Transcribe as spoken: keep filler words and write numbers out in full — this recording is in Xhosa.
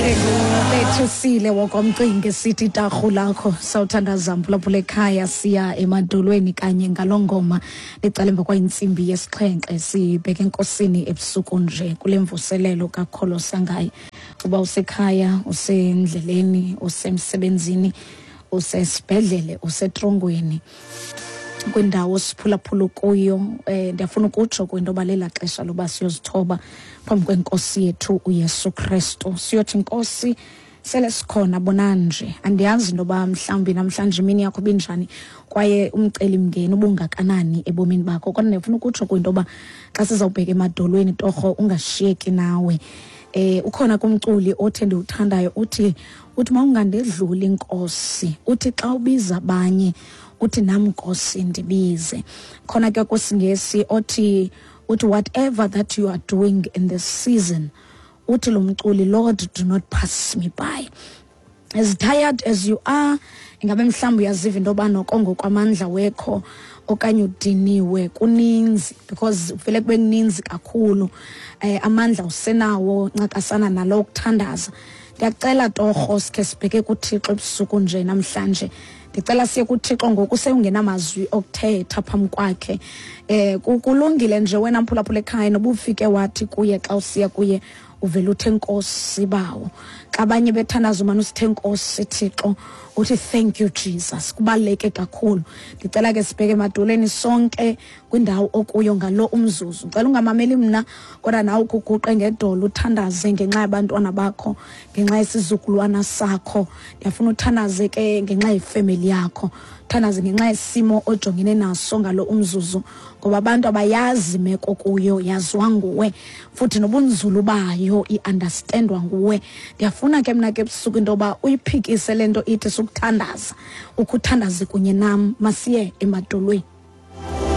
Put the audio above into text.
Bethusile wokomcinga sithi tarhu lakho sawuthandaza mphulaphula ekhaya, siya emadolweni kanye ngaloo ngoma licala emva kwayintsimbi yesixhenxe, sibheke enkosini ebusuku nje kule mvuselelo kakholo sangaye. Uba usekhaya, usendleleni, usemsebenzini, usesibhedlele, usetrongweni, kwindawo siphulaphula kuyo, eh ndiyafuna ukutsho kwinto yoba lela xesha loba siyozithoba phambi kwenkosi yethu uYesu Kristu, siyothi Nkosi sele sikhona bonanje. Andiyazi into yoba mhlawumbi namhlanje imini yakho ibinjani kwaye umcelimngeni ubungakanani ebomini bakho, kodwa ndiyafuna ukutsho kwinto yoba xa sizawubheka emadolweni torho ungashiyeki nawe. Eh ukhona kumculi othi ndiwuthandayo, uthi uthi mawungandedluli Nkosi, uthi xa ubiza abanye uthi nam Nkosi ndibize. Khona ke kwisiNgesi othi uthi whatever that you are doing in this season, uthi lo mculi, Lord do not pass me by. As tired as you are, ingabe mhlawumbi uyaziva into yoba noko ngokwamandla wekho okanye udiniwe kuninzi, because vele kube kuninzi kakhulu, eh amandla usenawo ncakasana nalo ukuthandaza. Ndiyacela torho sikhe sibheke kuThixo ebusuku nje namhlanje. Ndicela siye kuThixo ngoku sewungenamazwi okuthetha phambi kwakhe. Eh kulungile nje wena mphulaphula ekhaya noba ufike wathi kuye xa usiya kuye uvela uthe Nkosi bawo. Xa abanye bethandaza umane usithe Nkosi Thixo, uthi thank you Jesus. Kubaluleke kakhulu. Ndicela ke sibheke emadolweni sonke kwindawo okuyo ngalo umzuzu. Ndicela ungamameli mna kodwa nawe ukuguqe ngedolo uthandaze ngenxa yabantwana bakho, ngenxa yesizukulwana sakho. Ndiyafuna uthandaze ke ngenxa yefemeli yakho, uthandaze ngenxa yesimo ojongene naso ngalo umzuzu, ngoba abantu abayazi imeko kuyo, yaziwa nguwe futhi nobunzulu bayo i-understandwa nguwe. Ndiyafuna ke mna ke ebusuku into yoba uyiphikise le nto ithi sukuthandaza, ukuthandaze kunye nam. Masiye emadolweni.